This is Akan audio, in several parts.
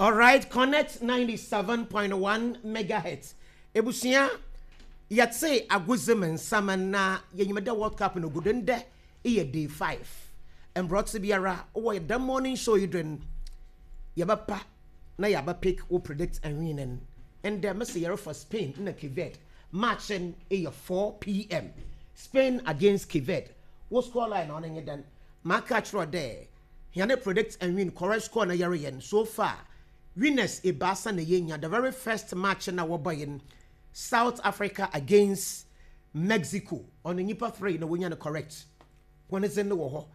Alright, Connect 97.1 megahertz. Ebusua, yɛtse agodzi mu nsɛm na yenyim dɛ World Cup no gu do ndɛ eyɛ day 5. Mbrɛ ɔtse biara wɔ dɛm morning show yi do no, yɛbɛpa na yɛaba pick wo predict and win no. Ndɛ mese yɛrefa Spain na Cape Verde. Match no eyɛ 4 p.m. Spain against Cape Verde. Wo score line ɔno nye dɛn? Maka akyerɛ wo dɛ hɛn predict and win correct score na yɛreyɛ no, so far winners ebiasa na yenya. The very first match na wɔbɔe no, South Africa against Mexico, ɔno nyimpa three na wonya no correct. Hɔn dze no wɔ hɔ.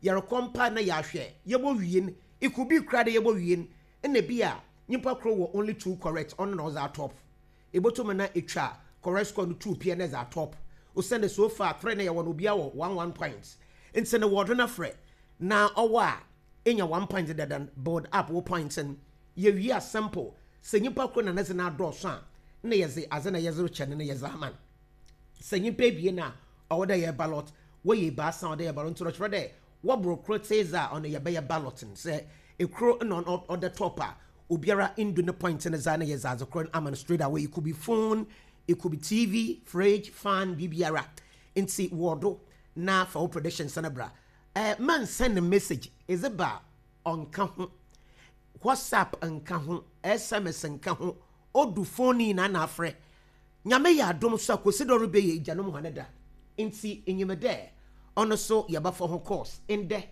Yɛrekɔ mpa na yɛahwɛ yɛbɔ wie no, it could be koraa dɛ yɛbɔ wie no ɛna bi a nyimpa kor wɔ only two correct, ɔno na ɔdze atop. Ebotum na etwa correct score no two pɛ na ɛdze atop, osiandɛ so far three na yɛwɔ no, obiara wɔ one one point. Ntsi no wɔdo no frɛ na ɔwɔ a enya one point dada no, build up wo points no. Yɛwie a, simple, sɛ nyimpa kor na ne dze no adɔɔso a, na yɛdze adze na yɛdze rekyɛ no no yɛdze ama no. Sɛ nyimpa ebien a ɔwɔ dɛ yɛ ballot, wɔyɛ ebiasa a ɔwɔ dɛ yɛ ballot, ntsi ɔkyerɛ dɛ wɔbor kor tse dze a, ɔno yɛbɛyɛ ballot no. Sɛ ekor na ɔno ɔda top a, obiara ndu ne point no dze a, na yɛdze adze kor no ama no straight away. It could be phone, it could be TV, fridge, fan, biribiara. Ntsi wɔ do na fa wo predictions no bra. Man send message edze ba a, ɔnka ho, WhatsApp nka ho, SMS nka ho, odu phone nyinaa na afrɛ. Nyame yɛ adom so a, Kwesi dɛ ɔrebɛyɛ egyanom hɔn da, ntsi inyim dɛ ɔno so yɛbɛfa ho course ndɛ.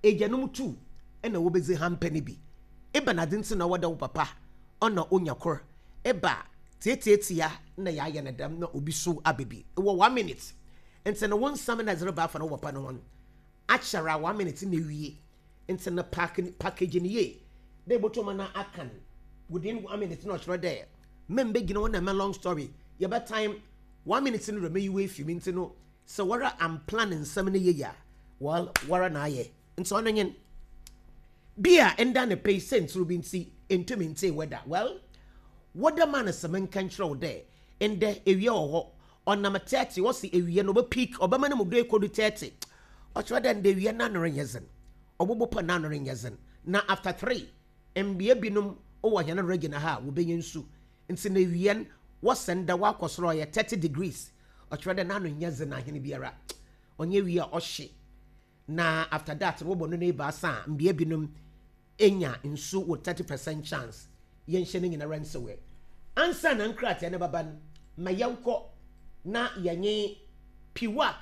Egyanom tu na wobedzi hampɛ no bi. Ebɛnadze ntsi na ɔwɔ dɛ wo papa ɔna onya kor? Eba tsiatsiatsia na yɛayɛ no dɛm na obi so aba bi. Ewɔ one minute ntsi no wo nsɛm na edze reba afa no wo papa no ho no akyɛr a, one minute na ewie, ntsi no pack package no yie dɛ ebotum na aka no within one minute, na ɔkyerɛ dɛ membegyina hɔ na mɛ long story yɛbɛ time one minute no dɛ meyi wo efi mu. Ntsi no sɛ wara amplan nsɛm no yie a, well, wara na ayɛ. Nti ɔno nye bi a nda ne pɛ yi sɛntsir bi ntsi ntumi ntsee weather. Well, weather man sɛ menka nkyerɛ wo dɛ ndɛ ewia wɔ hɔ, ɔnam 30, wɔse ewia no ɔbɛ peak, ɔbɛma no mu do ekodu 30. Ɔkyerɛ dɛ ndɛ ewia n'ano renyɛ dzen, ɔbɔbɔ pa n'ano renyɛ dzen, na after 3 mbea binom wɔ hɛn region ha a wobenya nsu. Ntsi na ewia no wɔsɛ ndɛ ɔakɔ sor, ɔyɛ 30 degrees, ɔkyerɛ dɛ n'ano nnyɛ dzen ahen biara, ɔnnyɛ ewia a ɔhye. Na after that no wɔbɔ no no ebiasa a, mbea binom enya nsu wɔ 30% chance. Yɛnhyɛ no nyinara nsewɛ ansa na nkrataa no bɛba no. Ma yɛnkɔ na yɛnye Piwak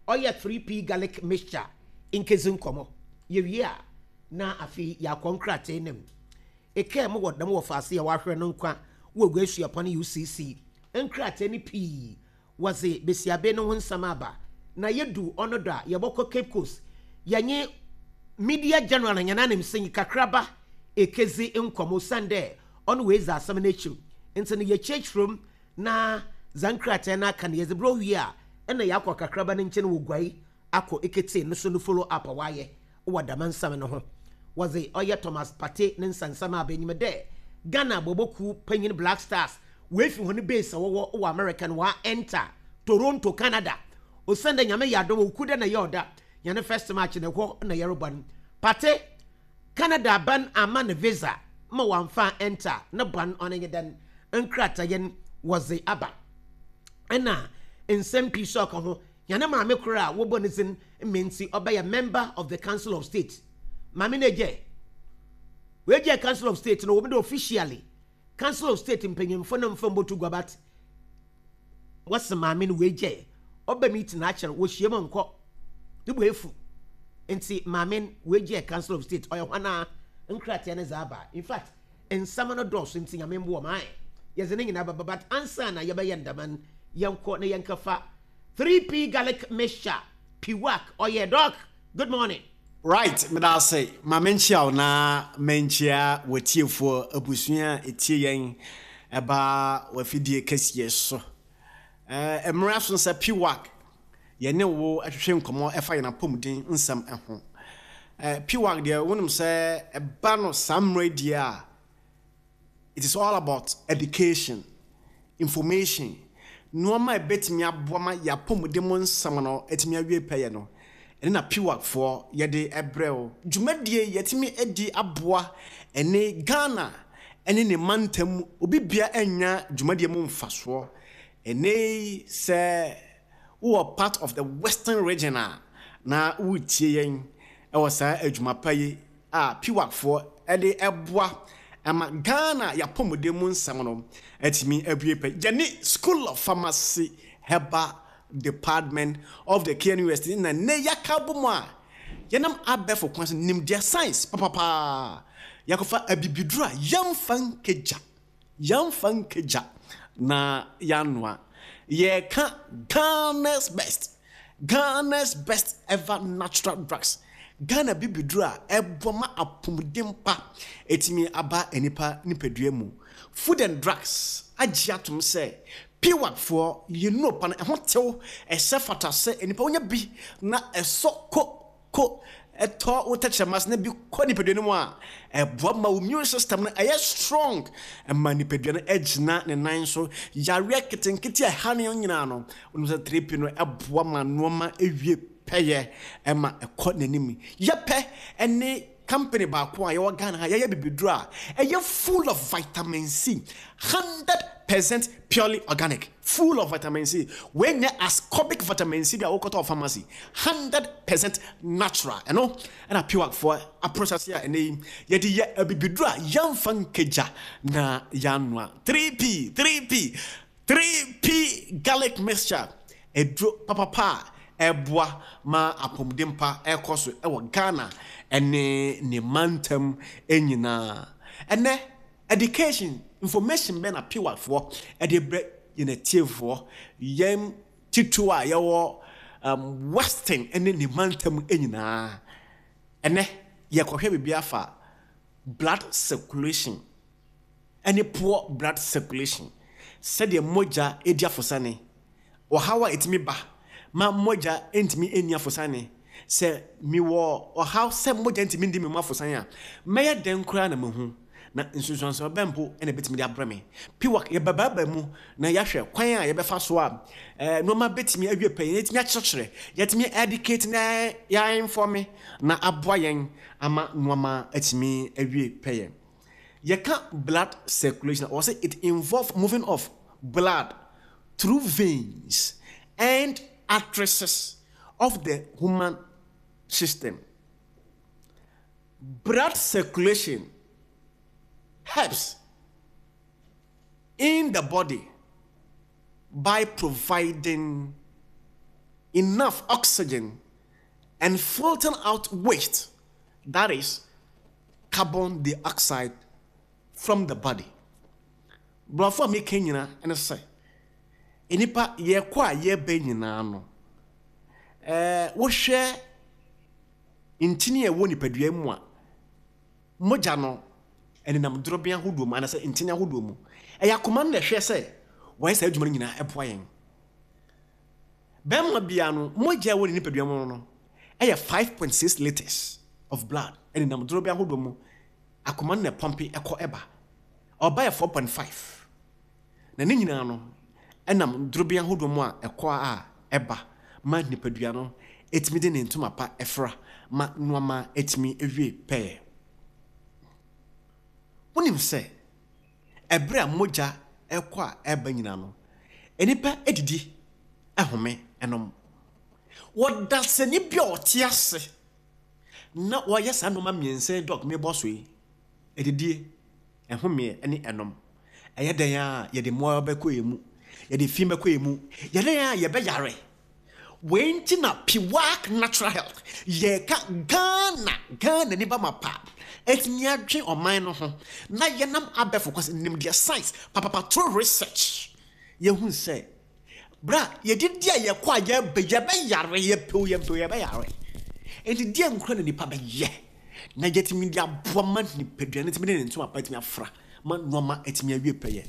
ɔyɛ 3P garlic mixture nkedzi nkɔmbɔ. Yewie a na afei yɛakɔ nkrataa no mu. Ekaa mu wɔ dɛm wɔfaase a wɔahwer no nkwa wɔ Oguaa Suapɔn UCC. Nkrataa no pii wɔdze basiaben no ho nsɛm aba, na yedu ɔno do a, yɛbɔkɔ Cape Coast yɛnye Media General hɛn ananmusinyi kakraba ekedzi nkɔmbɔ, osiandɛ ɔno oedzi asɛm no ekyir ntsi no yɛkyerɛkyerɛ mu na dza nkrataa no aka no yɛdze brɛ. Owie a, nna yɛakɔ kakraba no nkyɛn wɔ Guai akɔ eketsie no so no follow up a ɔayɛ wɔ dɛm nsɛm no ho. Wɔdze ɔyɛ Thomas Partey ne nsɛnsɛm aba enyim dɛ Ghana bɔbɔ kuw panyin Black Stars woefi hɔn base a wɔwɔ wɔ America no wɔa enter Toronto, Canada, osiandɛ Nyame yɛ adom a Wukuda na Yawda hɛn first match no hɔ na yɛrobɔ no. Partey, Canada aban amma no visa ma ɔammfa enter, no bɔn ɔno nye dɛn? Nkrataeɛ no wɔdze aba na nsɛm pii so ɔka ho. Hɛn maame kor a wɔbɔ ne dzin Mintsi, ɔbɛyɛ member of the Council of State. Maame no egyae. Oegyae Council of State no, wɔm dɛ officially Council of State mpanyimfo no mmfa mbotu gua, but wɔse maame no oegyae. Ɔba meeting akyɛr, wohyia mu nnkɔ. No bo efuw. Ntsi maame no oegyae Council of State. Ɔyɛ hɔn a nkrataa no dze aba. In fact, nsɛm no dɔɔso ntsi Nyame mboa ma yɛdze ne nyinaa bɛba, but ansaana yɛbɛyɛ no dɛm no, yɛnkɔ na yɛnkɛfa 3P garlic mixture, Piwak ɔyɛ doc. Good morning. Right, meda ase. Ma menkyia wo na menkyia w'atiefoɔ abusua a ɛtie yɛn ɛba w'afidie kɛseɛ so. Mmerɛ aso sɛ Piwak yɛne wo twetwe nkɔmmɔ ɛfa yɛn apɔmuden nsɛm ho. Piwak deɛ wonim sɛ ɛba no saa mmerɛ deɛ a, it is all about education, information, nnoɔma a ɛbɛtumi aboa ma yɛn apɔmuden mu nsɛm no atumi awie pɛyɛ no, ɛno na PWAC foɔ yɛde brɛ wo. Dwumadie yi yɛatumi adi aboa ɛne Ghana. ne ne mantam obi bia anya dwumadie mu mfasoɔ. Ɛnɛ yi sɛ wowɔ part of the Western Region a na woretie yɛn wɔ saa adwuma pa yi a PWACfoɔ de ɛboa ama Ghana yɛapɔmuden mu nsɛm no atumi abue pɛ. Yɛne School of Pharmacy Herbal Department of the KNUST na nnɛ yɛaka abɔ mu a yɛnam abɛɛfo kwan so nimdeɛ science papapaa yɛakɔfa abibiduro a yɛmfa nkagya, yɛmfa nkagya na yɛanoa. Yɛreka Ghana's best, Ghana's best ever natural drugs. Ghana bibiduro a ɛboa ma apɔmuden pa ɛtumi aba nnipa nipadua mu. Food and Drugs agye atom sɛ PWACfoɔ yɛn nnuro pa no ɛho tew, ɛsɛ fata sɛ nnipa wonya bi na ɛsɔ ko ko ɛtɔ wo tɛkyerɛma ase na bi kɔ nipadua no mu a, ɛboa ma wo immune system no ɛyɛ strong, ɛma nipadua no ɛgyina ne nan so. Yareɛ ketenkete a ɛha no nyinaa no, wonim sɛ 3P no ɛboa ma nnoɔma ɛwie pɛyɛ, ɛma ɛkɔ n'anim. Yɛpɛ ɛne company baako a yɛwɔ Ghana ha, yɛyɛ bibiduro a ɛyɛ full of vitamin C, 100% purely organic, full of vitamin C. Wei nyɛ ascorbic vitamin C bi a wokɔtɔ wɔ pharmacy, 100% natural. Ɛno ɛna PWACfoɔ aprocess a ɛnɛ yi yɛde yɛ abibiduro a yɛmfa nkagya na yɛanoa. 3P, 3P, 3P garlic mixture, aduro papapa a ɛboa ma apɔmuden pa ɛkɔ so ɛwɔ Ghana ɛne ne mantam nyinaa. Ɛnɛ education information bɛn na PWACfoɔ ɛde brɛ yɛn atiefoɔ, yɛn titiriw a yɛwɔ Western ɛne ne mantam nyinaa. Ɛnɛ yɛkɔhwɛ biribi afa blood circulation ɛne poor blood circulation, sɛdeɛ mogya edi afosane, ɔhaw a ɛtumi ba ma mogya ntumi nni afosane. Sɛ mewɔ ɔhaw sɛ mogya ntumi ndi me mu afosane a, mɛyɛ dɛn koraa na mahu? Na nsunsuansoɔ bɛn mpo na ɛbɛtumi de abrɛ me? PWAC yɛbɛbaaba mu na yɛahwɛ kwan a yɛbɛfa so a nneɛma bɛtumi awie pɛ, yɛtumi akyerɛkyerɛ, yɛtumi educate na yɛainfɔme na aboa yɛn ama nneɛma atumi awie pɛyɛ. Yɛka blood circulation a, wɔsɛ it involve moving of blood through veins and arteries of the human system. Blood circulation helps in the body by providing enough oxygen and filtering out waste, that is carbon dioxide, from the body. Borɔfo a meka nyinaa ne sɛ, nnipa yɛkɔ a yɛba nyinaa no, wohwɛ ntini a ɛwɔ nipadua mu a, mogya no ɛnenam dorobɛn ahodoɔ mu anaasɛ ntini ahodoɔ mu. Ɛyɛ akoma no na ɛhwɛ sɛ wɔyɛ saa adwuma no nyinaa ɛboa yɛn. Bɛrima biara no, mogya a ɛwɔ ne nipadua mu no ɛyɛ 5.6 litres of blood ɛnenam dorobɛn ahodoɔ mu. Akoma no na ɛpɔmpe ɛkɔ ɛba. Ɔba yɛ 4.5. Na ne nyinaa no ɛnam dorobɛn ahodoɔ mu a ɛkɔ a ɛba ma nipadua no ɛtumi de ne ntoma pa ɛfra ma nnoɔma ɛtumi ɛwie pɛɛ. Wonim sɛ ɛberɛ a mogya ɛkɔ a ɛba nyinaa no, nnipa ɛdidi, ɛhome, ɛnom. Wɔdasani bi a ɔte ase na wɔyɛ saa nnoɔma mmiɛnsa yi dɔk mebɔ so yi, ɛdidie, ɛhomeɛ ne ɛnom. Ɛyɛ dɛn a yɛde mmoawa bɛkɔ yɛn mu, yɛde fi bɛkɔ yɛn mu, yɛ dɛn a yɛbɛyare. Wei nti na PWAC Natural Health yɛka Ghana, Ghana ni ba ma pa atumi adwe ɔman no ho na yɛnam abɛɛfo kwan so nimdeɛ science papapa through research yɛhu sɛ Berɛ a yɛdidi a yɛkɔ a yɛba yɛbɛyare, yɛpɛ o yɛmpɛ o yɛbɛyare. Enti deɛ nkura na nipa bɛyɛ na yɛtumi de aboa ma nipadua no tumi de ne ntoma pa atumi afra ma nneɛma atumi awie pɛyɛ.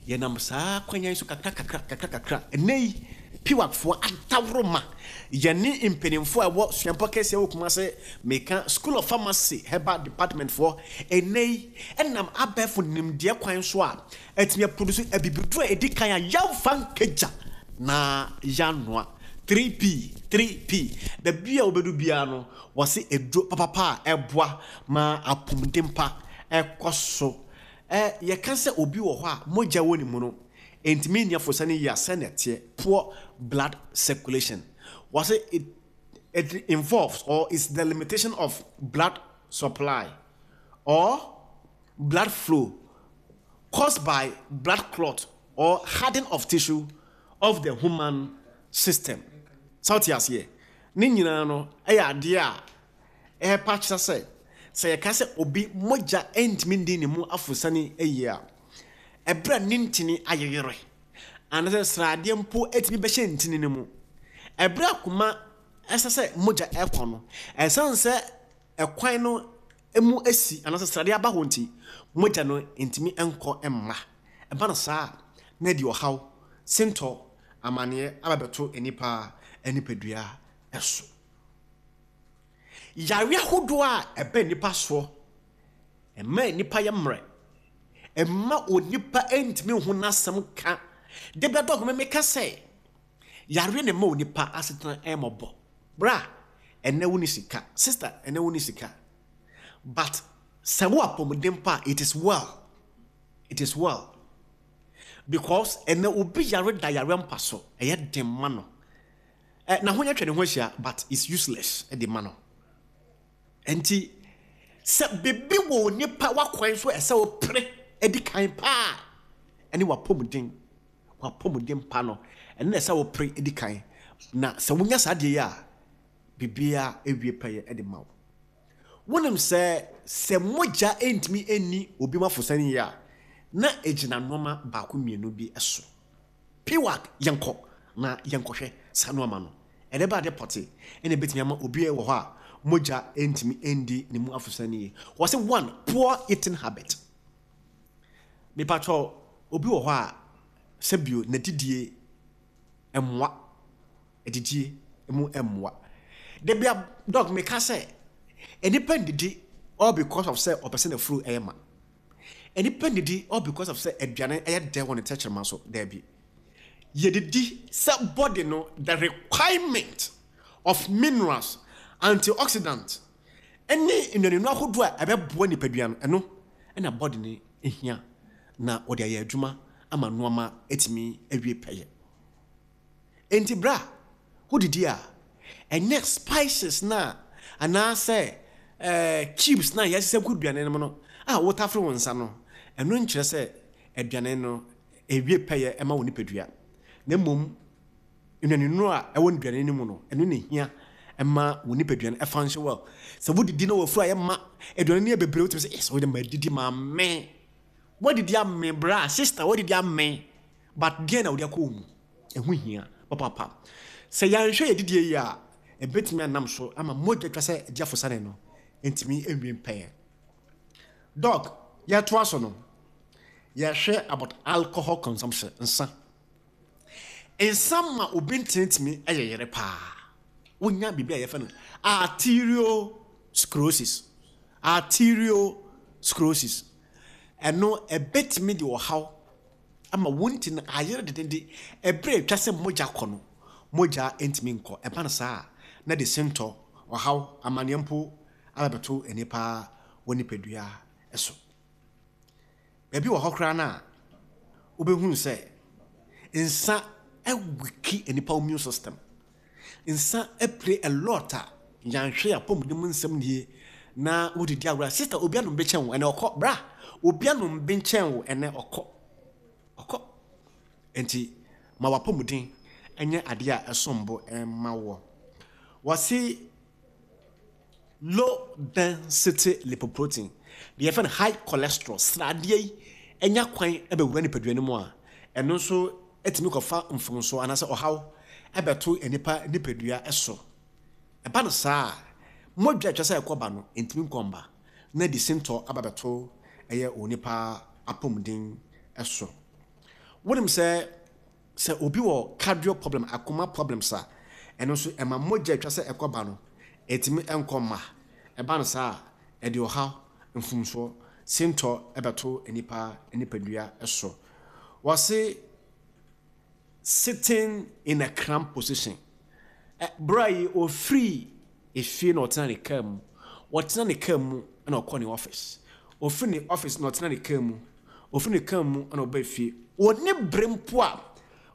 Yɛnam saa kwan yi so kakra kakra kakra kakra. Ɛnnɛ yi PWACfoɔ adaworo ma yɛne mpanimfoɔ a ɛwɔ suapɔn kɛseɛ wɔ Kumase, meka School of Pharmacy Herbal Department foɔ, ɛnnɛ yi ɛnam abɛɛfo nimdeɛ kwan so a atumi aproduce abibiduro a ɛdi kan a yɛmfa nkagya na yɛanoa. 3P, 3P, baabi a wobɛdu biara no, wɔse aduro papapa a ɛboa ma apɔmuden pa ɛkɔ so. Yɛka sɛ obi wɔ hɔ a mogya wɔ ne mu no, ɛntumi nni afosane yie a, sɛnea ɛteɛ, poor blood circulation. Wɔse it, it involves or is the limitation of blood supply or blood flow caused by blood clot or hardening of tissue of the human system. Sɛ wote aseɛ? Ne nyinaa no ɛyɛ adeɛ a ɛrepa kyerɛ sɛ, sɛ yɛka sɛ obi mogya ntumi ndi ne mu afosane yie a, ɛberɛ a ne ntini ayeyere, anaasɛ sradeɛ mpo atumi bɛhyɛ ntini no mu. Ɛberɛ a koma ɛsɛ sɛ mogya ɛkɔ no, ɛsiane sɛ ɛkwan no mu asi anaasɛ sradeɛ aba hɔ nti, mogya no ntumi nkɔ mma. Ɛba no saa a, na ɛde ɔhaw, sintɔ, amaneɛ aba bɛto nnipa nipadua so. Yareɛ ahodoɔ a ɛba nnipa soɔ, ɛma nnipa yɛ mmerɛ, ɛma onipa ntumi nhu n'asɛm ka. Da bi adɔko me meka sɛ, yareɛ na ɛma onipa asetena ɛmmɔbɔ. Bra, ɛnɛ wo ni sika. Sister, ɛnɛ wo ni sika. But sɛ wo apɔmuden pa a, it is well. It is well. Because ɛnɛ obi yare da yare mpa so, ɛyɛ den ma no. Eh, n'ahonya atwa ne ho ahyia but it's useless de ma no. Nti sɛ biribi wɔ onipa w'akwan so ɛsɛ wopere adi kan paa ɛne w'apɔmuden, w'apɔmuden pa no ɛno na ɛsɛ wopere adi kan. Na sɛ wonya saa adeɛ yi a, biribiara ewie pɛyɛ de ma wo. Wonim sɛ sɛ mogya ntumi nni obi mu afosane yie a, na egyina nneɛma baako mmienu bi so. Piwak, yɛnkɔ na yɛnkɔhwɛ saa nnoɔma no. Ɛdɛ bɛ ade pɔte na ɛbɛtumi ama obi wɔ hɔ a mogya ntumi ndi ne mu afosane yie? Wɔse one, poor eating habit. Mepakyɛw, obi wɔ hɔ a sɛbio n'adidie mmoa, adidie mu mmoa. Da bia dɔk meka sɛ, nnipa ndidi all because of sɛ ɔpɛ sɛ n'afuru yɛ ma. Nnipa nnidi all because of sɛ aduane yɛ dɛ wɔ ne tɛkyerɛma so. Daabi. Yɛdidi sɛ body no the requirement of minerals, antioxidant ne nnuanenu ahodoɔ a ɛbɛboa nipadua no, ɛno na body no hia na wɔde ayɛ adwuma ama nnoɔma atumi awie pɛyɛ. Enti berɛ a wodidi a, ɛnyɛ spices no a anaasɛ cubes no a yɛasesa gu aduane no mu no a wotafere wo nsa no, ɛno nkyerɛ sɛ aduane no ɛwie pɛyɛ ma wo nipadua. Na mmom nnuanennuro a ɛwɔ aduane no mu no, ɛno na ɛhia ma wo nipadua no function well. Sɛ wodidi na wafuru ayɛ ma, aduane no yɛ bebree, wotumi sɛ, yes, wode madidi mamee. Woadidi amee bra, sister, woadidi amee. But deɛn na wode akɔ wo mu? Ɛho hia papaapa. Sɛ yɛanhwɛ yɛn adidie yie a, ɛbɛtumi anam so ama mogya atwa sɛ agye afosane no ntumi nwie mpɛyɛ. Doc, yɛtoa so no, yɛhwɛ about alcohol consumption, nsa. Nsa ma obi ntenetumi yɛ yere paa. Wonya biribi a yɛfrɛ no arteriosclerosis. Arteriosclerosis. Ɛno ɛbɛtumi de ɔhaw ama wɔn nti no ayere dendenden. Ɛberɛ a ɛtwa sɛ mogya kɔ no, mogya ntumi nkɔ. Ɛba no saa a, na ɛde sintɔ, ɔhaw, amaneɛ mpo aba bɛto nnipa wɔ nipadua so. Baabi wɔ hɔ koraa no a, wobɛhunu sɛ nsa wiki nnipa immune system. Nsa play a lot a yɛanhwɛ yɛn apɔmuden mu nsɛm nie na wodidi agorɔ a sister obi anom bi kyɛn wo ɛnɛ ɔkɔ bra obi anom bi nkyɛn wo ɛnɛ ɔkɔ ɔkɔ nti ma w'apɔmuden nyɛ adeɛ a ɛsom bo ma woɔ. Wɔse Low density lipoprotein, deɛ yɛfrɛ no high cholesterol, sradeɛ yi nya kwan bɛwura nipadua no mu a, ɛno nso tumi kɔfa mfomsoɔ anaasɛ ɔhaw bɛto nnipa nipadua so. Ɛba no saa a, mogya a ɛtwa sɛ ɛkɔ ba no ntumi nkɔ mma, na ɛde sintɔ aba bɛto ɛyɛ onipa apɔmuden so. Wonim sɛ Sɛ obi wɔ cardio problem, akoma problems a, ɛno nso ɛma mogya a ɛtwa sɛ ɛkɔ ba no, ɛtumi nkɔ mma. Ɛba no saa a, ɛde ɔhaw, mfomsoɔ, sintɔ bɛto nnipa nipadua so. Wɔse sitting in a cramped position. Berɛ yi ɔfiri efie na ɔtena ne kaa mu. Ɔtena ne kaa mu na ɔkɔ ne office. Ɔfiri ne office na ɔtena ne kaa mu. Ɔfiri ne kaa mu na ɔbaa fie. Ɔnni bere mpo a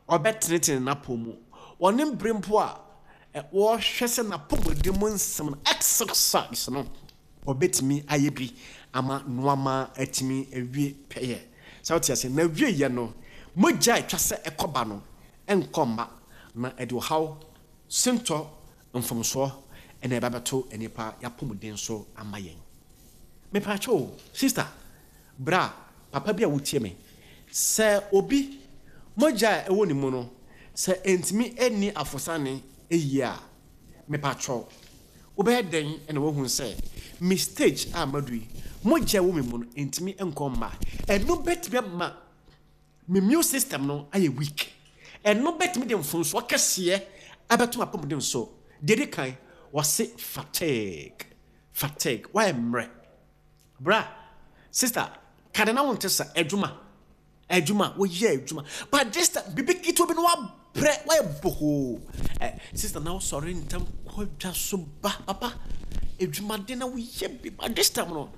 ɔbɛtenetene n'apɔw mu. Ɔnni bere mpo a ɔrehwɛ sɛ n'apɔmuden mu nsɛm no, exercise no, ɔbɛtumi ayɛ bi ama nnoɔma atumi awie pɛyɛ. Sɛ wote aseɛ? Na awieeɛ no, mogya a ɛtwa sɛ ɛkɔba no nkɔ mma, na ɛde ɔhaw, sintɔ, mfomsoɔ na ɛba bɛto nnipa y'apɔmuden so ama yɛn. Mepaakyɛw o, sister, bra, papa bi a wotie me, sɛ obi mogya a ɛwɔ ne mu no, sɛ ɛntumi nni afosane yie a, mepaakyɛw, wobɛyɛ dɛn na woahu sɛ me stage a madu yi, mogya a ɛwɔ me mu no ɛntumi nkɔ mma? Ɛno bɛtumi ama me immune system no ayɛ weak. Ɛno bɛtumi de mfomsoɔ kɛseɛ abɛto m'apɔmuden so. Deɛ ɛdi kan, wɔse fatigue, fatigue, woayɛ mmerɛ. Bra, sister, ka de na wonte sa, adwuma, adwuma, woyɛ adwuma. But this time, biribi ketewa bi na wabrɛ, woayɛ bohoo. Eh, sister, na wosɔre ntɛm kɔ dwa so ba, papa, adwumaden na woyɛ bi, but this time no,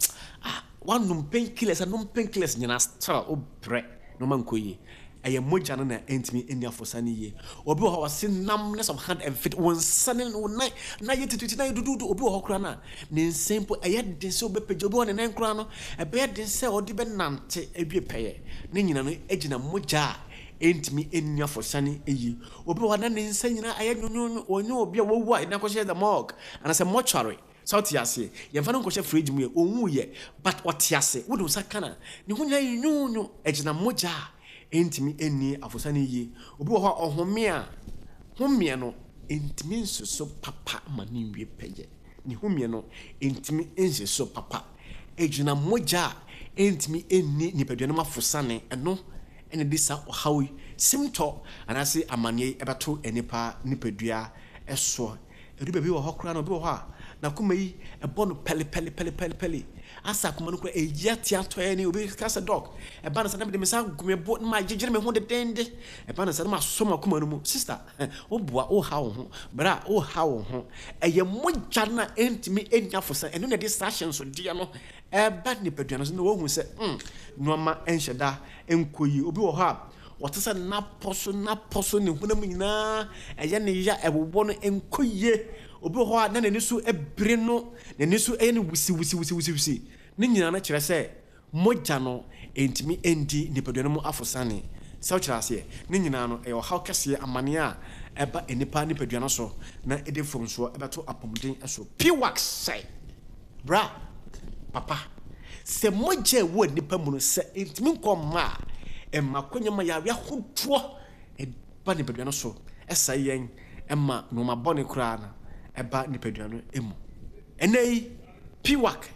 ah, Woanom painkillers anom painkillers nyinaa still wo brɛ nnoɔma nkɔ yie. Ɛyɛ mogya no na ɛntumi nni afosane yie. Obi wɔ hɔ a ɔse numbness of hand and feet, wo nsa ne wo nan na ayɛ tititi na ayɛ duduudu. Obi wɔ hɔ koraa no a ne nsa mpo ɛyɛ den sɛ ɔbɛpagya. Obi wɔ hɔ ne nan koraa no ɛbɛyɛ den sɛ ɔde bɛnante awie pɛyɛ. Ne nyinaa no gyina mogya a ɛntumi nni afosane yie. Obi wɔ hɔ a na ne nsa nyinaa ayɛ nwonwonwo. Ɔnyɛ obi a wawu a yɛde no akɔhyɛ the morgue anaasɛ mortuary. Sɛ wote aseɛ? Yɛmfa no nkɔhyɛ fridge mu yɛ, ɔnwuiɛ, but ɔte ase. Wode wo nsa ka no a, ne ho nyinaa yɛ nwonwonwo. Ɛgyina mogya a ɛntumi nni afosane yie. Obi wɔ hɔ a, ɔhome a, homeɛ no ntumi nsi so papa ma no nwie pɛyɛ. Ne homeɛ no ntumi nsi so papa. Ɛgyina mogya a ɛntumi nni nipadua no mu afosane. Ɛno na ɛde saa ɔhaw yi, simtɔ anaase amaneɛ yi bɛto nnipa nipadua soɔ. Ɛdu baabi wɔ hɔ koraa no, obi wɔ hɔ a, n'akoma yi, ɛbɔ no pɛlepɛlepɛlepɛle. Asɛ akoma no koraa, ɛyi atea tɔɛ ni. Obi ka sɛ, Dɔk, ɛba no saa na mede me nsa agu me bo na magyegyere me ho dedeende. Ɛba no saa na masɔ m'akoma no mu. Sista, woboa, woha wo ho. Bra, woha wo ho. Ɛyɛ mogya no a ɛntumi nnya fo sɛ ɛno na ɛde saa ahyɛnsodeɛ no ɛba nipadua no so na wɔhu sɛ, hmm, nneɛma nhyɛ da nkɔ yie. Obi wɔ hɔ a, Ɔte sɛ n'apɔ so n'apɔ so ne honam nyinaa ɛyɛ ne ya, ɛwowɔ no, ɛnkɔ yie. Obi wɔ hɔ a na n'ani so biri no, n'ani so yɛ no wisiwisiwisiwisi. Ne nyinaa no kyerɛ sɛ mogya no ntumi ndi nipadua no mu afosane. Sɛ wokyerɛ aseɛ? Ne nyinaa no ɛyɛ ɔhaw kɛseɛ, amaneɛ a ɛba nnipa nipadua no so na ɛde mfomsoɔ bɛto apɔmuden so. Piwak sɛ. Bra, papa, sɛ mogya a ɛwɔ nnipa mu no, sɛ ɛntumi nkɔ mma a, ɛma akwanya ma yareɛ ahodoɔ ba nipadua no so, ɛsɛe yɛn, ɛma nnoɔma bɔne koraa no ɛba nipadua no mu. Ɛnnɛ yi, PWAC,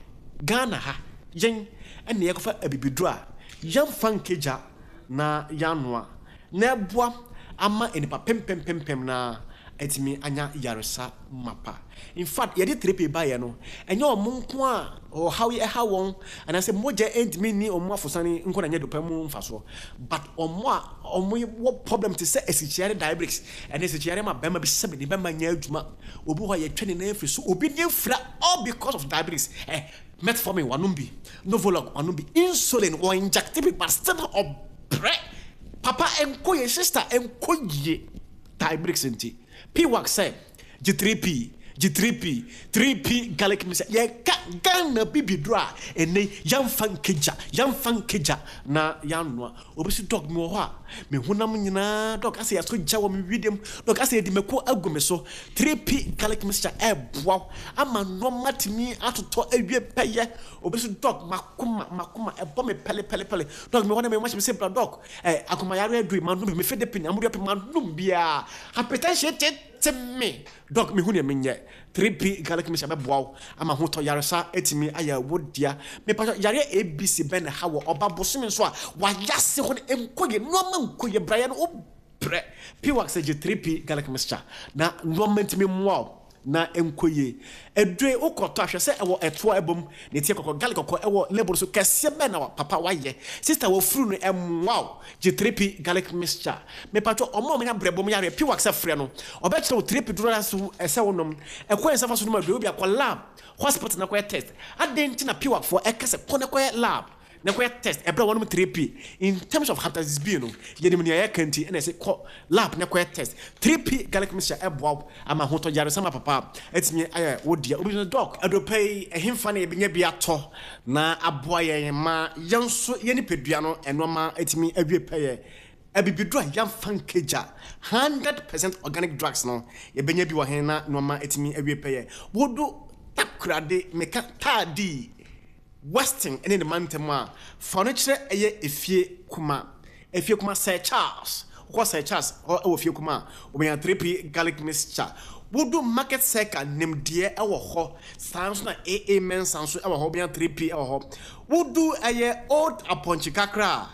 Ghana ha, yɛn na yɛkɔfa abibiduro a yɛmfa nkɛgya na yɛanoa na ɛboa ama nnipa pempempempem no ara atumi anya yaresa mapa. In fact, yɛde 3P baeɛ no, ɛnyɛ wɔn nko a ɔhaw yi ɛha wɔn anaasɛ mogya ntumi nni wɔn afosane nko na ɛnyɛ dɔpɛ mu mfasoɔ, but wɔn a wɔwɔ problem te sɛ asikyire diabetics, ɛne asikyire ma bɛrima bi sɛbe ne bɛrima nyɛ adwuma, obi wɔ hɔ a yɛtwa ne nan afiri so, obi ne afira all because of diabetics. Eh, metformin wanom bi, Novolog wanom bi, insulin wɔ inject bi but still ɔbrɛ. Papa ɛnkɔ yie, sister ɛnkɔ yie diabetics nti. P-Wax sɛ gye 3P, gye 3P, 3P garlic mixture. Yɛka Ghana bibiduro a ɛnnɛ yi yɛmfa nkegya, yɛmfa nkegya na yɛanoa. Obi se dɔk mewɔ hɔ a me honam nyinaa dɔk asɛ yɛasɔ gya wɔ me wedeɛ mu, dɔk asɛ yɛde mako agu me so. 3P garlic mixture ɛɛboa wo ama nnoɔma atumi atotɔ awie pɛyɛ. Obi se dɔk makoma, makoma ɛbɔ me pɛle pɛle pɛle, dɔk mewɔ hɔ na me ho ahyɛ me se bra dɔk. Eh, akomayare aduru yi, manom bi, mefe de pene, amodeɛ pe, manom biara. Hypertension tete me. Doc, mehu nea menyɛ. 3P garlic mixture bɛboa wo ama ahotɔ yaresa atumi ayɛ wo dea. Mepakyɛw, yareɛ ABC bɛn na ɛha wɔ ɔba bosome nso a wayase hɔ no nkɔ yie, nnoɔma nkɔ yie, brayɛ no wobrɛ. P-wax gye 3P garlic mixture na nnoɔma ntumi mmoa wo. na ɛnkɔ yie. Aduro yi wokɔtɔ a hwɛ sɛ ɛwɔ ɛtoɔ a ɛbɔ mu, ne ti yɛ kɔkɔɔ, garlic kɔkɔɔ ɛwɔ label no so, kɛseɛ bɛn na papa wayɛ? Sister wafuru no ɛmmoa wo, gye 3P garlic mixture. Mepatwɔ ɔmo a ɔmo nya brɛbo mu yareɛ, P-wax frɛ no, ɔbɛkyerɛ wo 3P duro a ɛsɛ wo nom, ɛkwan a ɛsɛ fa so nom aduro yi, wobia kɔ lab, hospital na kɔyɛ test. Adɛn nti na P-wax foɔ ɛka sɛ kɔ na kɔyɛ lab? na kɔyɛ test ɛberɛ a wɔnom 3P in terms of hepatitis B no yɛnim nea yɛka nti ɛna ɛsɛ kɔ lab na kɔyɛ test. 3P garlic mixture ɛboa wo ama ahotɔ yaresam apapa atumi ayɛ wo dea. Obi nso doc aduropa yi ɛhenfa na yɛbɛnya bi atɔ na aboa yɛn ma yɛn nso yɛn nipadua no nnoɔma atumi awie pɛyɛ. Abibiduro a yɛmfa nkagya, 100% organic drugs no, yɛbɛnya bi wɔ he na nnoɔma atumi awie pɛyɛ? Wodo Takoradi, meka Taadii, Western ne ne mantam a, fa no kyerɛ ɛyɛ Efie Kuma. Efie Kuma Sir Charles, wokɔ Sir Charles hɔ wɔ Efie Kuma a, wobɛnya 3P garlic mixture. Wodo Market Circle, Nimdeɛ wɔ hɔ, saa nso na AA Mensah nso wɔ hɔ, wobɛnya 3P wɔ hɔ. Wodu ɛyɛ Old Apɔnkye kakra a,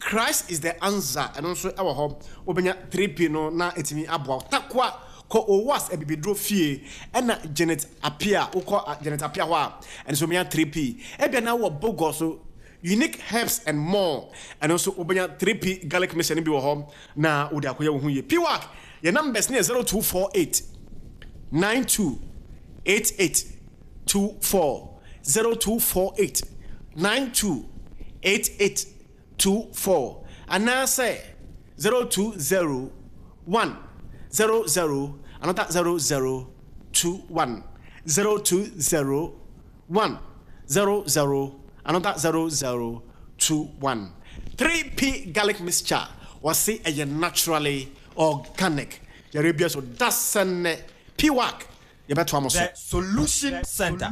Christ is the answer ɛno nso ɛwɔ hɔ wobɛnya 3P no na ɛtumi aboa wo. Takwa kɔ Owas abibiduro fie ɛna Janet Apia wokɔ Janet Apia hɔ a ɛno nso wobɛnya 3P. Ebia na wowɔ Bogor so Unique Herbs and More ɛno nso wobɛnya 3P garlic mixture no bi wɔ hɔ na wode akɔyɛ wo ho yie. Piwak yɛ numbers no yɛ 0248 92 88 24 0248 92 88 24 anaasɛ 020 1 00 another 00 21 020 1 00 another 00 21 3P garlic mixture wɔse ɛyɛ naturally organic yɛrɛ bia so dasɛnɛ piwak yɛbɛtoa mo so. The Solution Center.